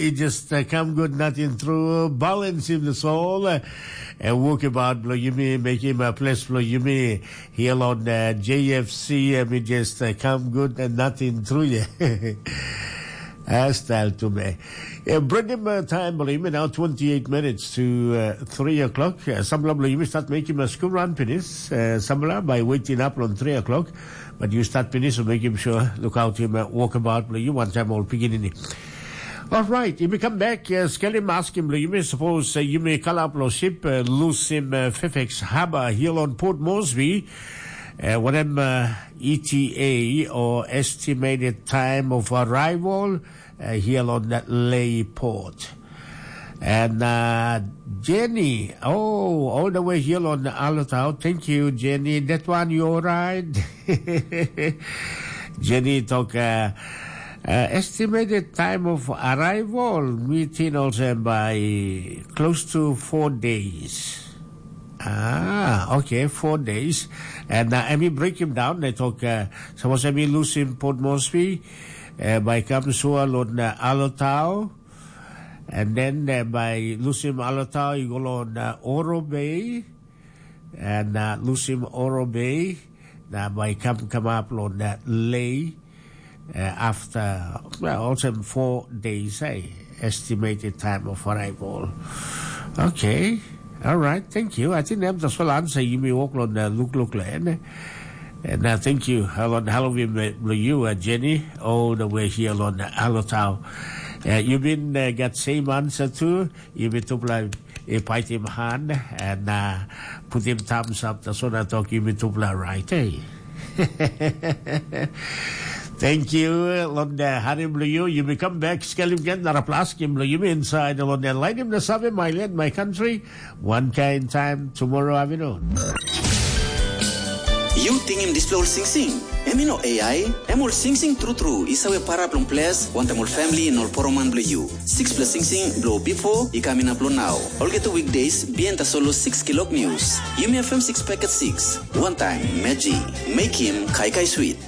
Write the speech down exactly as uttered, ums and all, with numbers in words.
It just uh, come good, nothing through. Balance in the soul. Uh, and walk about below you me, make him a place below you me. Here on uh, J F C, uh, we just uh, come good and nothing through you. Style to me. Yeah, bring him uh, time, believe me now, twenty-eight minutes to uh, three o'clock. Uh, some believe me start making a school run finish. Uh, some by waiting up on three o'clock. But you start finish, so make him sure, look out him, uh, walk about, believe you one time all beginning. All right, if you come back, uh, skelim askim lo yumi, suppose uh, yumi kalap lo ship, uh, lusim uh, Fairfax Harbour here on Port Moresby, uh, wanem uh, E T A or estimated time of arrival uh, here on that Lay port. And uh, Jenny, oh, all the way here on Alotau. Thank you, Jenny. That one, you all right? Jenny talk uh, uh, estimated time of arrival meeting also by close to four days. Ah, okay, four days. And uh, let me break him down. They talk, uh, suppose let me lose him Port Moresby, uh, by Kamsua on uh, Alotau. And then uh, by lusim Alotau, you go on uh, Oro Bay, and uh, lusim Oro Bay. Now by come come up on that Lay uh, after well, also four days, eh, estimated time of arrival. Okay, all right, thank you. I think that's the answer you may walk on the look look land. And uh, thank you, Helen Halloween, you, uh, Jenny, all the way here on Alotau. Uh, you been uh, got same answer too. You been to play a fight him hand and uh, put him thumbs up. That's what I talk. You been to play right, eh? Thank you, Londa Harim Luyu. You may come back, Scalim again, Naraplaskim Luyu inside the Londa. Light him the Save, my land, my country. One kind time tomorrow afternoon. Yu tingim dispela ol singsing? Em i no A I, em ol singsing tru tru i save para bilong ples wantaim ol famili na ol poroman bilong yu. Sixpela singsing bilong bipo i kam inap long nau. Olgeta weekdays, bihain tasol long six kilok news. Yumi F M six packet six. One time, Meji. Make him kaikai sweet.